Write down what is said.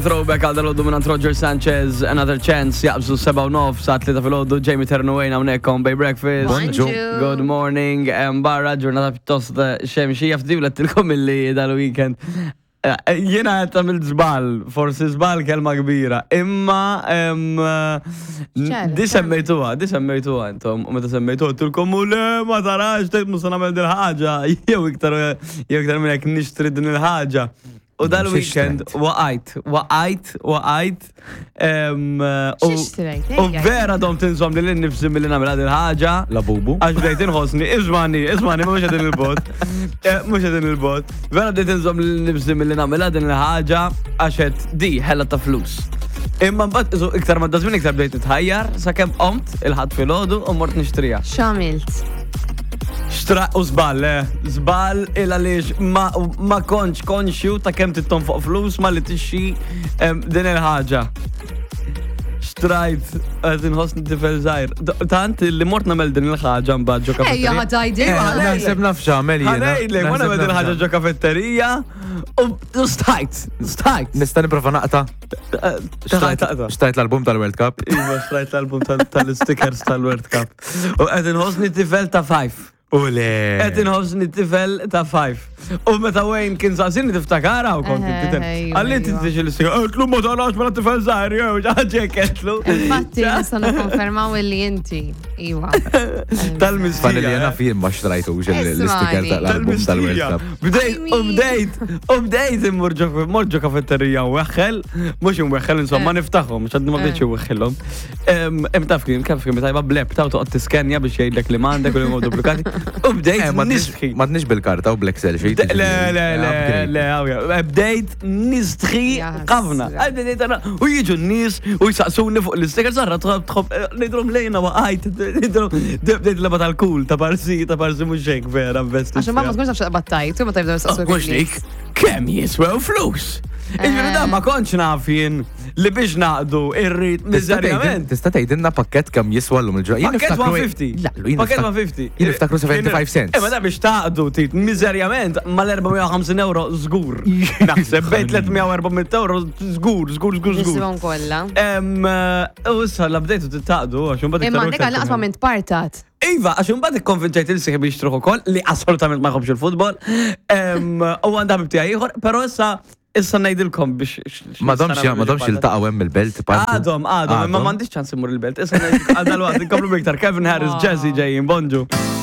Throwback għal dal-għoddu minn Roger Sanchez, Another Chance, jaqbżu 7 u nof, sa' 3 fil-għoddu, Jamie Ternuwejn hawnhekk on Bay Breakfast. Bonġu. Good morning, barra ġurnata pjuttost xemxija ftit lettilkom illi dal-weekend. Eh, Jiena qed tagħmel żball, forsi żball kelma kbira, imma X'għal, di semmejtuha, di semmejtuha intom, u meta semmejtuha tilkom u le ma tarax tgħid mhux se nagħmel din ħaġa, jew iktar jew iktar minn hekk nixtri din il-ħaġa. U dal-weekend waqajt, waqajt, waqajt. X'ixtrejt? U vera dom tinżom li l-nifsi mill-li namela din ħaġa. La bubu. Għax bdejt inħossni, ismani, ismani, mhux qegħdin il-bot. Eh, mhux qegħdin il-bot. Vera bdejt inżomm li l-nifsi mill-li namela din il-ħaġa għax qed di ħella ta' flus. Imma mbagħad isu iktar ma dażmin iktar bdejt nitħajjar sakemm qomt il-ħadd filgħodu u mort nixtriha. X'għamilt? Xtra u żball, eh. Żball il għaliex ma, ma kontx konxju ta' kemm titton fuq flus ma li tixxi din il-ħaġa. Xtrajt, qed inħossni tifel żgħir. Tant li mort nagħmel din il-ħaġa mbagħad ġo Ejja, kafetterija. ħa tgħidilna. Ejja, Naħseb naf x'għamel jiena. Ħanejlek, ma nagħmel din il-ħaġa ġo kafetterija u stajt, stajt. Nista' nipprova naqta'. Xtrajt Xtrajt l-album tal-World Cup. Iva, xtrajt l-album tal-stickers tal-World Cup. U qed inħossni tifel ta' five. U le. Qed inħossni tifel ta' five. U meta Wayne kien saqsini tiftakara u kont Eh, inti iva, Għalli iva. titix il-sticker, għetlu ma tarax mela tifel żgħir, jew ġaġek għetlu. Infatti, nistgħu nikkonfermaw illi inti. Iva. Tal-mistija. Fan li jena fien ma xtrajtux l-sticker Ismani. tal-album tal-World Tal-mistija. Cup. Bdejt, I u mean- bdejt, u bdejt immur ġo mort ġo kafetterija u weħħel, mux imweħħel, insomma Eh. niftaħhom, xadni ma bdejtx iweħħilhom. Em taf kien, kif kien tajba bleb, taw toqgħod tiskenja biex jgħidlek li m'għandek u li huma duplikati. U bdejt Eh, ma nistħi. tnix- Ma tnix bil-karta u bl-Excel sheet. Le, le, le, le, għawja. Bdejt nistħi Ja, ħafna. ħasra. Bdejt għana, u jiġu n-nies u jisaqsuni fuq l-isticker, sarra tħobb, tħobb, nidrom lejna waqajt, nidrom, bdejt leba tal-kul, ta' parsi, ta' parsi mux hekk vera, investit. Għax ma tkunx taf x'taqbad tajt, u ma tibdew saqsu. Mux dik, kemm jiswew flus? Iġifieri da ma kontx naf jien li biex naqdu irrid miżerjament. Tista' tgħidilna pakkett kemm jiswa llum il-ġurnata. Jien Pakket niftakru- 150. La, lu, jien Pakket niftak- 150. Jien niftakru 75 cents. Imma da biex taqdu tit miżerjament mal-450 euro żgur. Naħseb bejn 300 u 400 euro żgur, żgur, żgur, żgur. Nisibhom kollha. Em, eh, U issa la bdejtu titaqdu għax imbagħad Imma iktar u għandek iktar għal naqsma minn partat. Iva, għax imbagħad ikkonvinċejt il sieħbi jixtruh ukoll li assolutament ma jħobbx il-futbol. Em, U għandha ħabib tiegħi ieħor, però issa issa ngħidilkom biex. Ma domx ma domx iltaqgħu hemm il-belt. partu. Għadhom, għadhom, imma m'għandix ċans immur il-belt. Issa ngħidilkom għal dal-waqt inkomplu iktar Kevin Harris, Wow. Jazzy ġejjin, bonġu.